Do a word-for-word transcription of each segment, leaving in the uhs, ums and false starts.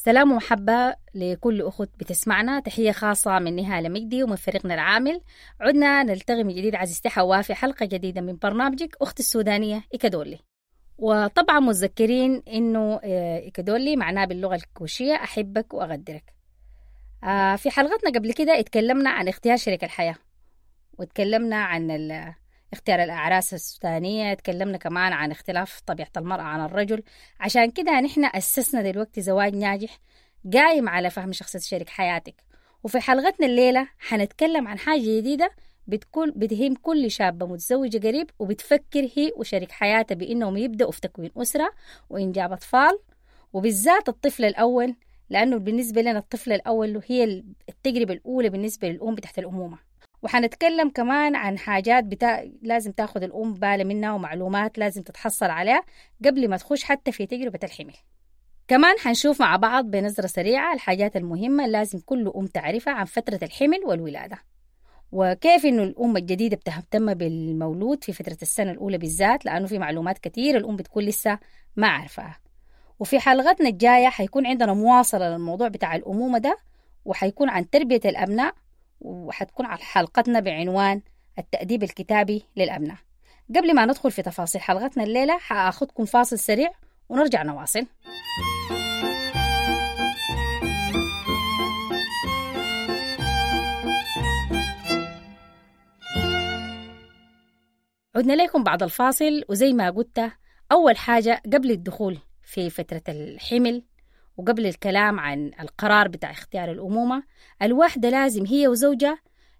سلام ومحبة لكل أخت بتسمعنا. تحية خاصة من نهال مجدي ومن فريقنا العامل. عدنا نلتقي من جديد عزيزتي حواء في حلقة جديدة من برنامجك أخت السودانية إيكادولي. وطبعا متذكرين إنه إيكادولي معناه باللغة الكوشية أحبك وأغدرك. في حلقتنا قبل كده اتكلمنا عن اختيار شريك الحياة، واتكلمنا عن اختيار الأعراس السودانية، اتكلمنا كمان عن اختلاف طبيعة المرأة عن الرجل. عشان كده نحن أسسنا دلوقتي زواج ناجح قايم على فهم شخصية شريك حياتك. وفي حلقتنا الليلة حنتكلم عن حاجة جديدة بتكون بتهم كل شابة متزوجة قريب وبتفكر هي وشريك حياتها بإنهم يبدأوا في تكوين أسرة وإنجاب أطفال، وبالذات الطفل الأول، لأنه بالنسبة لنا الطفل الأول هي التجربة الأولى بالنسبة للأم تحت الأمومة. وحنتكلم كمان عن حاجات بتا... لازم تاخد الأم بالها منها ومعلومات لازم تتحصل عليها قبل ما تخش حتى في تجربة الحمل. كمان حنشوف مع بعض بنظرة سريعة الحاجات المهمة لازم كل أم تعرفها عن فترة الحمل والولادة، وكيف إنه الأم الجديدة بتهتم بالمولود في فترة السنة الأولى بالذات، لأنه في معلومات كتير الأم بتكون لسه ما عارفاها. وفي حلقتنا الجاية حيكون عندنا مواصلة للموضوع بتاع الأمومة ده، وحيكون عن تربية الأبناء، وحتكون على حلقتنا بعنوان التأديب الكتابي للأبناء. قبل ما ندخل في تفاصيل حلقتنا الليلة حأخذكم فاصل سريع ونرجع نواصل. عدنا لكم بعد الفاصل، وزي ما قلت أول حاجة قبل الدخول في فترة الحمل وقبل الكلام عن القرار بتاع اختيار الأمومة، الواحدة لازم هي وزوجها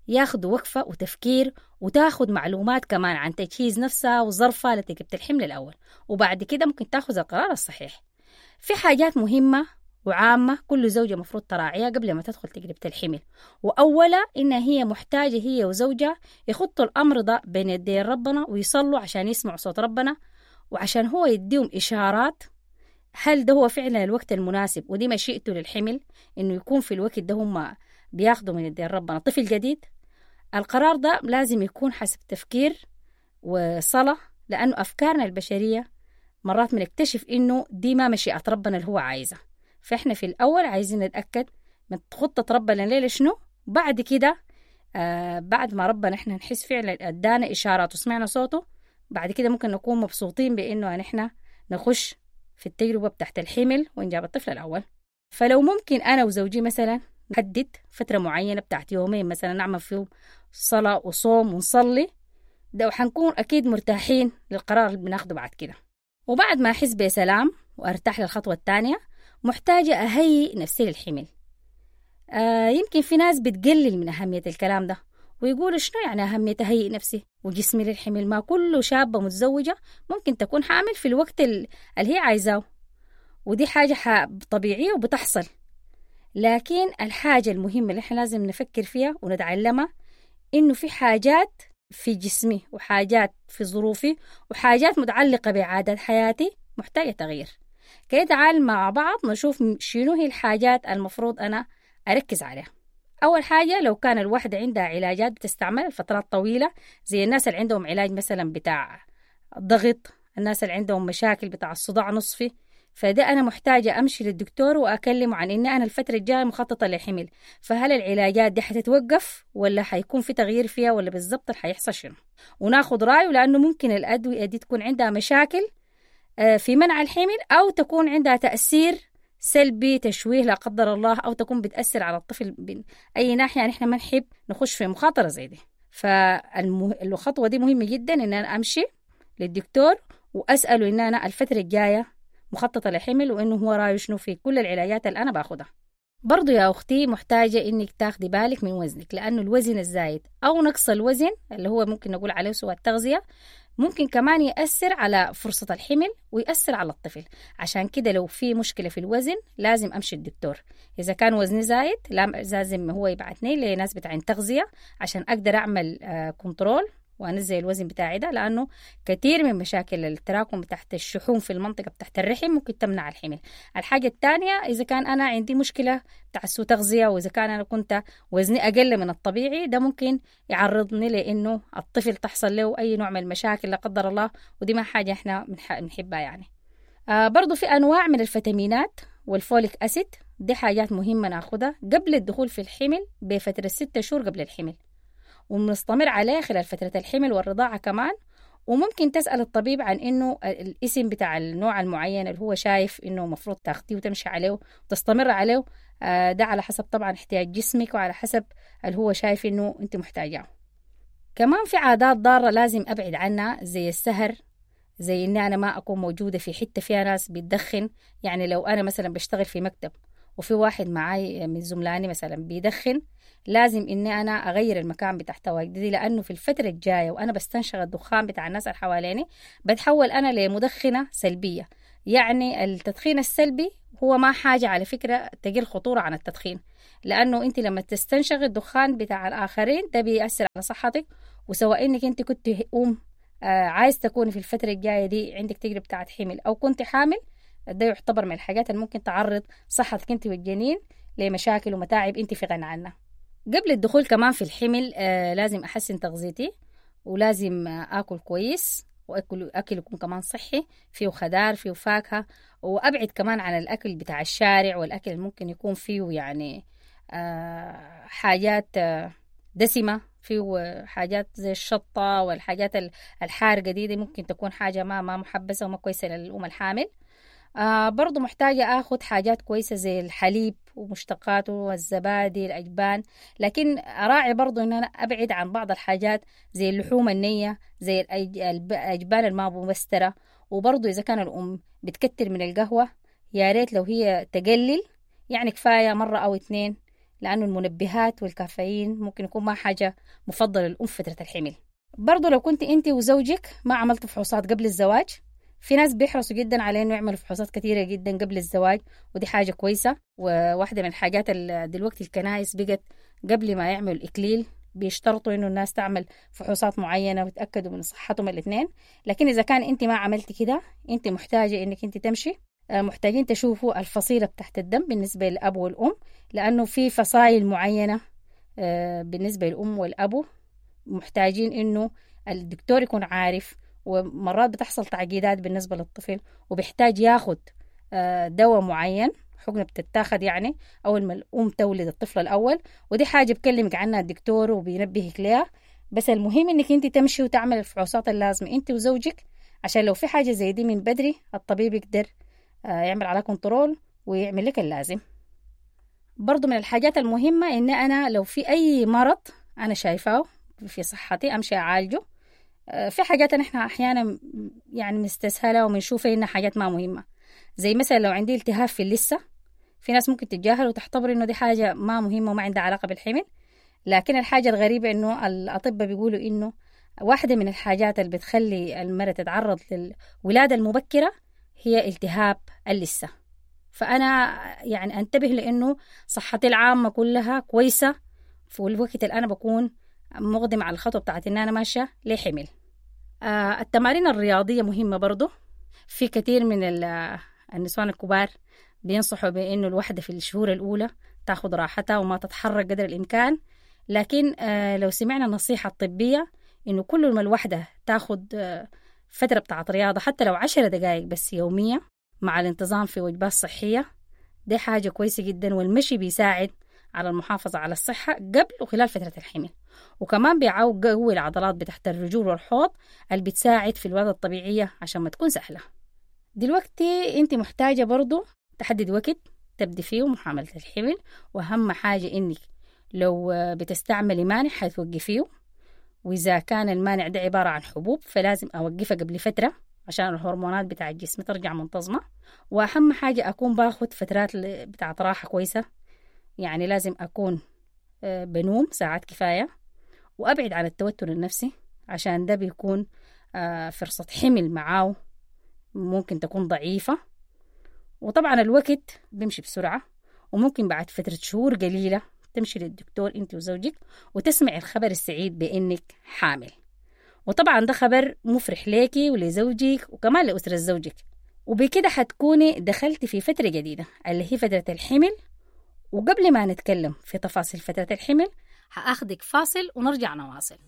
ياخدوا وقفة وتفكير وتاخد معلومات كمان عن تجهيز نفسها وظرفها لتجربة الحمل الأول، وبعد كده ممكن تاخذ القرار الصحيح. في حاجات مهمة وعامة كل زوجة مفروض تراعيها قبل ما تدخل تجربة الحمل، وأولا إن هي محتاجة هي وزوجها يخطوا الأمر ده بين يدي ربنا ويصلوا عشان يسمعوا صوت ربنا، وعشان هو يديهم إشارات هل ده هو فعلا الوقت المناسب ودي مشيئته للحمل إنه يكون في الوقت ده هم بياخدوا من يدين ربنا طفل جديد. القرار ده لازم يكون حسب تفكير وصلاة، لأنه أفكارنا البشرية مرات بنكتشف إنه دي ما مشيئة ربنا اللي هو عايزها. فإحنا في الأول عايزين نتأكد من خطة ربنا ليلة شنو، بعد كده آه بعد ما ربنا إحنا نحس فعلا أدانا إشارات وسمعنا صوته، بعد كده ممكن نكون مبسوطين بإنه نحن نخش في التجربة بتاعت الحمل وإنجاب الطفل الأول. فلو ممكن أنا وزوجي مثلا نحدد فترة معينة بتاعت يومين مثلا نعمل فيهم صلاة وصوم ونصلي ده، وحنكون أكيد مرتاحين للقرار اللي بناخده بعد كده. وبعد ما أحس بسلام وأرتاح للخطوة الثانية، محتاجة أهيئ نفسي للحمل. آه يمكن في ناس بتقلل من أهمية الكلام ده ويقولوا شنو يعني أهمية أهيئ نفسي وجسمي للحمل، ما كل شابة متزوجة ممكن تكون حامل في الوقت اللي هي عايزاه، ودي حاجة طبيعية وبتحصل. لكن الحاجة المهمة اللي احنا لازم نفكر فيها ونتعلمها إنه في حاجات في جسمي وحاجات في ظروفي وحاجات متعلقة بعادات حياتي محتاجة تغيير. كي تعال مع بعض نشوف شنو هي الحاجات المفروض أنا أركز عليها. أول حاجة لو كان الواحدة عندها علاجات بتستعمل لفترات طويلة، زي الناس اللي عندهم علاج مثلا بتاع ضغط، الناس اللي عندهم مشاكل بتاع الصداع نصفي، فده أنا محتاجة أمشي للدكتور وأكلمه عن إن أنا الفترة الجاية مخططة للحمل، فهل العلاجات دي حتتوقف ولا حيكون في تغيير فيها ولا بالضبط حيحصل شنو، وناخد رأيه، لأنه ممكن الأدوية دي تكون عندها مشاكل في منع الحمل أو تكون عندها تأثير سلبي، تشويه لا قدر الله، أو تكون بتأثر على الطفل بأي ناحية. نحن ما نحب نخش في مخاطرة زي دي. فالخطوة دي مهمة جدا إن أنا أمشي للدكتور وأسأله إن أنا الفترة الجاية مخططة لحمل وإنه هو رأيه شنو في كل العلاجات اللي أنا باخدها. برضو يا أختي محتاجة إنك تاخدي بالك من وزنك، لأنه الوزن الزايد أو نقص الوزن اللي هو ممكن نقول عليه سوء التغذية ممكن كمان يأثر على فرصة الحمل ويأثر على الطفل. عشان كده لو في مشكلة في الوزن لازم أمشي الدكتور. إذا كان وزني زايد لازم هو يبعتني لناس بتاعين تغذية عشان أقدر أعمل control وأنزل الوزن بتاعي ده، لأنه كثير من مشاكل التراكم تحت الشحوم في المنطقة بتاعت الرحم ممكن تمنع الحمل. الحاجة الثانية إذا كان أنا عندي مشكلة بتاع سوء تغذية، وإذا كان أنا كنت وزني أقل من الطبيعي، ده ممكن يعرضني لأنه الطفل تحصل له أي نوع من المشاكل لا قدر الله، ودي ما حاجة إحنا بنحبها يعني. آه برضو في أنواع من الفيتامينات وال folic acid دي حاجات مهمة ناخدها قبل الدخول في الحمل بفترة ستة شهور قبل الحمل، وبنستمر عليها خلال فترة الحمل والرضاعة كمان. وممكن تسأل الطبيب عن إنه الاسم بتاع النوع المعين اللي هو شايف إنه مفروض تاخديه وتمشي عليه وتستمر عليه، ده على حسب طبعا احتياج جسمك وعلى حسب اللي هو شايف إنه أنت محتاجاه. كمان في عادات ضارة لازم أبعد عنها، زي السهر، زي إني أنا ما أكون موجودة في حتة فيها ناس بتدخن. يعني لو أنا مثلا بشتغل في مكتب وفي واحد معاي من زملاني مثلا بيدخن، لازم إني أنا أغير المكان بتاع تواجدي، لأنه في الفترة الجاية وأنا بستنشق الدخان بتاع الناس اللي حواليني بتحول أنا لمدخنة سلبية. يعني التدخين السلبي هو ما حاجة على فكرة تقل خطورة عن التدخين، لأنه أنت لما تستنشق الدخان بتاع الآخرين ده بيأثر على صحتك، وسواء إنك أنت كنت أم آه عايز تكوني في الفترة الجاية دي عندك تجربة بتاعت حمل أو كنت حامل، ده يعتبر من الحاجات اللي ممكن تعرض صحتك أنت والجنين لمشاكل ومتاعب أنت في غنى عنها. قبل الدخول كمان في الحمل آه لازم أحسن تغذيتي، ولازم آه آكل كويس، وأكل أكل يكون كمان صحي، فيه خضار فيه فاكهة، وأبعد كمان عن الأكل بتاع الشارع والأكل اللي ممكن يكون فيه يعني آه حاجات آه دسمة، فيه حاجات زي الشطة والحاجات الحارقة دي, دي ممكن تكون حاجة ما ما محبسة وما كويسة للأم الحامل. آه برضو محتاجة أخذ حاجات كويسة زي الحليب ومشتقاته والزبادي الأجبان، لكن أراعي برضو إن أنا أبعد عن بعض الحاجات زي اللحوم النية، زي الأجبان الما مبسترة. وبرضو إذا كان الأم بتكتر من القهوة يا ريت لو هي تقلل، يعني كفاية مرة أو اتنين، لأنه المنبهات والكافيين ممكن يكون ما حاجة مفضلة للأم فترة الحمل. برضو لو كنت أنت وزوجك ما عملت فحوصات قبل الزواج، في ناس بيحرصوا جدا على انه يعملوا فحوصات كثيره جدا قبل الزواج، ودي حاجه كويسه. وواحده من الحاجات اللي دلوقتي الكنائس بقت قبل ما يعملوا الاكليل بيشترطوا انه الناس تعمل فحوصات معينه ويتاكدوا من صحتهم الاثنين. لكن اذا كان انت ما عملتي كده، انت محتاجه انك انت تمشي، محتاجين تشوفوا الفصيله بتاعت الدم بالنسبه للاب والام، لانه في فصائل معينه بالنسبه للام والابو محتاجين انه الدكتور يكون عارف. ومرات بتحصل تعقيدات بالنسبة للطفل وبيحتاج ياخد دواء معين، حقنة بتتاخد يعني أول ما الأم تولد الطفل الأول، ودي حاجة بكلمك عنها الدكتور وبينبهك ليها. بس المهم إنك أنت تمشي وتعمل الفحوصات اللازمة أنت وزوجك، عشان لو في حاجة زي دي من بدري الطبيب يقدر يعمل على control ويعمل لك اللازم. برضو من الحاجات المهمة إن أنا لو في أي مرض أنا شايفاه في صحتي أمشي أعالجه. في حاجات نحن أحيانا يعني مستسهلة وبنشوفها إنها حاجات ما مهمة، زي مثلا لو عندي التهاب في اللثة، في ناس ممكن تتجاهل وتعتبر إنه دي حاجة ما مهمة وما عندها علاقة بالحمل. لكن الحاجة الغريبة إنه الأطباء بيقولوا إنه واحدة من الحاجات اللي بتخلي المرأة تتعرض للولادة المبكرة هي التهاب اللثة. فأنا يعني أنتبه لأنه صحتي العامة كلها كويسة في الوقت اللي أنا بكون مقدم على الخطوة بتاعت إن أنا ماشية لحمل. آه التمارين الرياضية مهمة برضو. في كثير من النسوان الكبار بينصحوا بأنه الوحدة في الشهور الأولى تاخد راحتها وما تتحرك قدر الإمكان، لكن آه لو سمعنا النصيحة الطبية إنه كل ما الوحدة تاخد آه فترة بتاعت رياضة حتى لو عشر دقائق بس يومية مع الانتظام في وجبات صحية، دي حاجة كويسة جدا. والمشي بيساعد على المحافظة على الصحة قبل وخلال فترة الحمل، وكمان بيقوي العضلات بتحت الرجول والحوض اللي بتساعد في الولادة الطبيعية عشان ما تكون سهلة. دلوقتي انت محتاجة برضو تحدد وقت تبدي فيه محاملة الحمل، وأهم حاجة انك لو بتستعملي مانع حتوقفيه، وإذا كان المانع ده عبارة عن حبوب فلازم أوقفها قبل فترة عشان الهرمونات بتاع الجسم ترجع منتظمة. وأهم حاجة أكون باخد فترات بتاعت راحة كويسة، يعني لازم أكون بنوم ساعات كفاية، وأبعد عن التوتر النفسي عشان ده بيكون فرصة حمل معاه ممكن تكون ضعيفة. وطبعا الوقت بيمشي بسرعة، وممكن بعد فترة شهور قليلة تمشي للدكتور انت وزوجك وتسمعي الخبر السعيد بأنك حامل. وطبعا ده خبر مفرح ليكي ولزوجك وكمان لأسرة زوجك، وبكده حتكوني دخلتي في فترة جديدة اللي هي فترة الحمل. وقبل ما نتكلم في تفاصيل فترة الحمل هأخذك فاصل ونرجع نواصل.